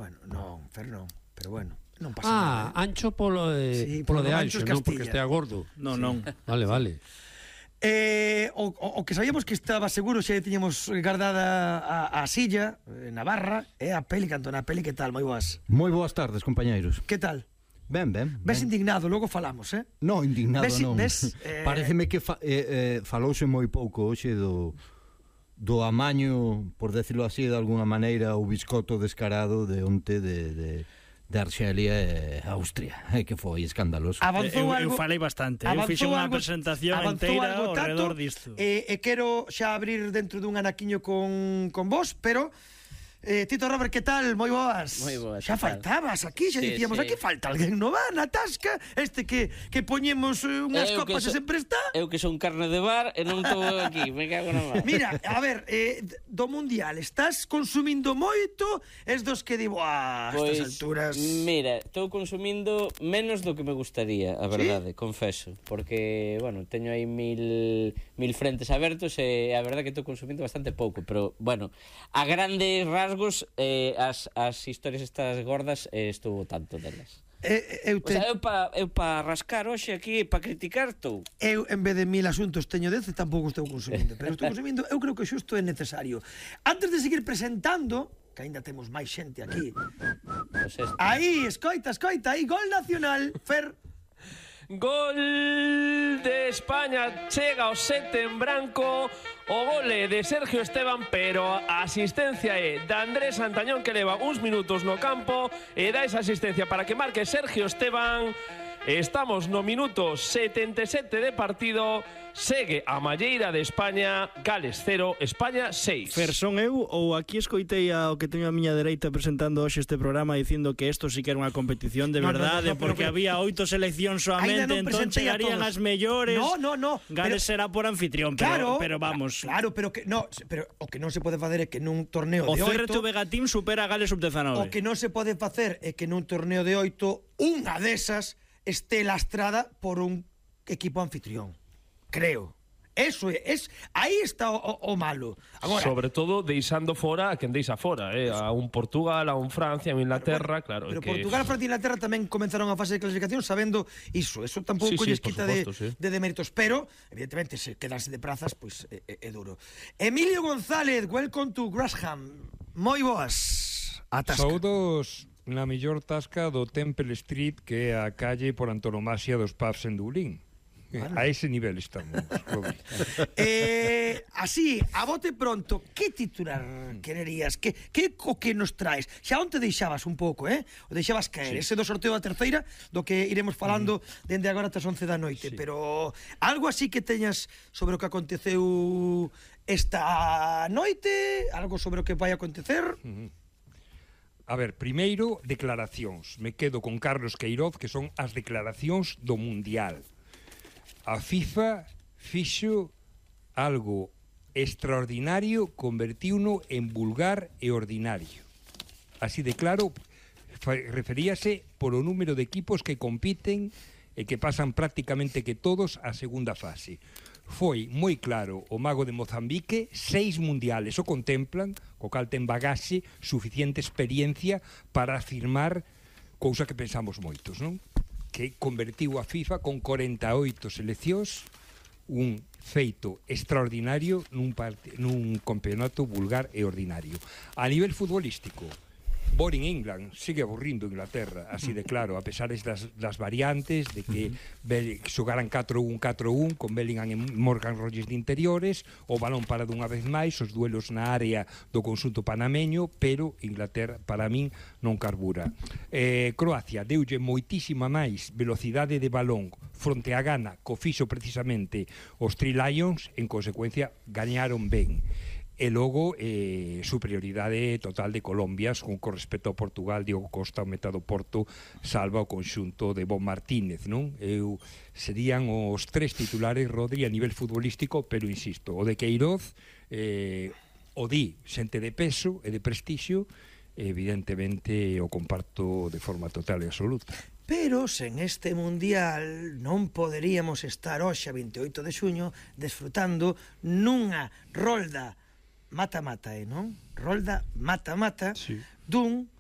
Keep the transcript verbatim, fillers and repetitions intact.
Bueno, non, Fer non, pero bueno, non pasa ah, nada. Ah, ancho polo, eh, sí, polo polo de ancho ancho, es non porque Castilla. estea gordo. Non, Sí. non. Vale, vale. Eh, o, o, o que sabíamos que estaba seguro xa tiñamos guardada a, a silla eh, na barra é a peli, Cantona, a peli, que tal, moi boas? Moi boas tardes, compañeiros. Que tal? Ben, ben, ben. Ves indignado, logo falamos, eh? No, indignado ves, non. Ves, eh... Pareceme que fa, eh, eh, falouse moi pouco hoxe do do amaño, por decirlo así, de alguna maneira, o biscoto descarado de onte de, de, de Arxelia e Austria, eh, que foi escandaloso. Avanzou eu, algo, eu falei bastante, eu fixe unha algo, presentación inteira ao redor disto. E, e quero xa abrir dentro dun anaquiño con, con vos, pero... Eh, Tito Robert, que tal? Moi boas. Moi boas. Xa faltabas aquí, xa sí, dicíamos, sí. aquí falta alguén no va, na tasca, este que, que poñemos uh, unhas eu copas so, e sempre está. Eu que son carne de bar e non estou aquí, me cago na mar. Mira, a ver, eh, do Mundial, estás consumindo moito? Es dos que digo, ah, Pois, estas alturas... mira, estou consumindo menos do que me gustaría, a verdade, ¿sí? Confeso. Porque, bueno, teño aí mil, mil frentes abertos e a verdade que estou consumindo bastante pouco. Pero, bueno, a grandes rasgos, eh, as, as historias estas gordas, eh, estou tanto delas. Eh, eu, te... o sea, eu pa, eu pa rascar hoxe aquí, pa criticar estou. Eu, en vez de mil asuntos, teño dez e tampouco estou consumindo. Pero estou consumindo, eu creo que xusto é necesario. Antes de seguir presentando, que aínda temos máis xente aquí. Pues este. Aí, escoita, escoita, aí, gol nacional, Fer. Gol de España, chega o sete en branco, o gole de Sergio Esteban, pero a asistencia é de Andrés Santañón, que leva uns minutos no campo e dá esa asistencia para que marque Sergio Esteban. Estamos no minuto setenta e sete de partido. Segue a malleira de España. Gales cero, España seis. Fer, son eu ou aquí escoitei ao que teño a miña dereita presentando hoxe este programa dicindo que isto sí que era unha competición de no, verdade, no, no, porque pero, había oito seleccións solamente, non entón chegarían as mellores. No, no, no. Gales será por anfitrión, claro, pero, pero vamos. Claro, pero que no, pero o que non se pode facer é que nun torneo o de C R T oito Vega Team supera a Gales sub dezenove. O que non se pode facer é que nun torneo de oito unha desas esté lastrada por un equipo anfitrión. Creo. Eso é, es, aí está o, o, o malo. Agora, sobre todo deixando fora a quen deixa fora, eh? A un Portugal, a un Francia, a un Inglaterra, claro. Pero que... Portugal, Francia e Inglaterra tamén comenzaron a fase de clasificación sabendo iso. Eso tampouco sí, sí, lles quita supuesto, de, sí. de deméritos. Pero, evidentemente, se quedarse de prazas, pois pues, é, é, é duro. Emilio González, welcome to Grasham. Moi boas. Atasca. Saudos na mellor tasca do Temple Street, que é a calle por antonomasia dos pubs en Dublín. Vale. A ese nivel estamos. eh, así, a bote pronto, que titular quererías? Que, que o que nos traes? Xa onte deixabas un pouco, eh? O deixabas caer, sí. Ese do sorteo da terceira, do que iremos falando mm. dende agora ata as once da noite, sí. Pero algo así que teñas sobre o que aconteceu esta noite, algo sobre o que vai acontecer? Mm-hmm. A ver, primeiro, declaracións. Me quedo con Carlos Queiroz, que son as declaracións do Mundial. A FIFA fixo algo extraordinario, convertiuno en vulgar e ordinario. Así de claro, referíase polo número de equipos que compiten e que pasan prácticamente que todos a segunda fase. Foi moi claro o mago de Mozambique, seis mundiales o contemplan, co cal ten bagaxe, suficiente experiencia para afirmar cousa que pensamos moitos, non? Que convertiu a FIFA con corenta e oito seleccións, un feito extraordinario nun, part... nun campeonato vulgar e ordinario. A nivel futbolístico, Boring England sigue aburrindo Inglaterra, así de claro, a pesar das, das variantes, de que uh-huh. xogaran catro un catro un con Bellingham e Morgan Rogers de interiores, o balón para dunha vez máis, os duelos na área do conxunto panameño, pero Inglaterra, para min, non carbura. Eh, Croacia deulle moitísima máis velocidade de balón fronte a Ghana, co fixo precisamente os Three Lions, en consecuencia, gañaron ben. E logo, eh, superioridade total de Colombia con, con respecto ao Portugal. Diogo Costa, o metado Porto, salva o conxunto de Bon Martínez, non? Eu, serían os tres titulares, Rodri, a nivel futbolístico, pero insisto, o de Queiroz, eh, o di xente de peso e de prestixio, evidentemente o comparto de forma total e absoluta. Pero sen este Mundial non poderíamos estar hoxe a vinte e oito de xuño desfrutando nunha rolda mata-mata, eh, non? Rolda mata-mata, sí. Dun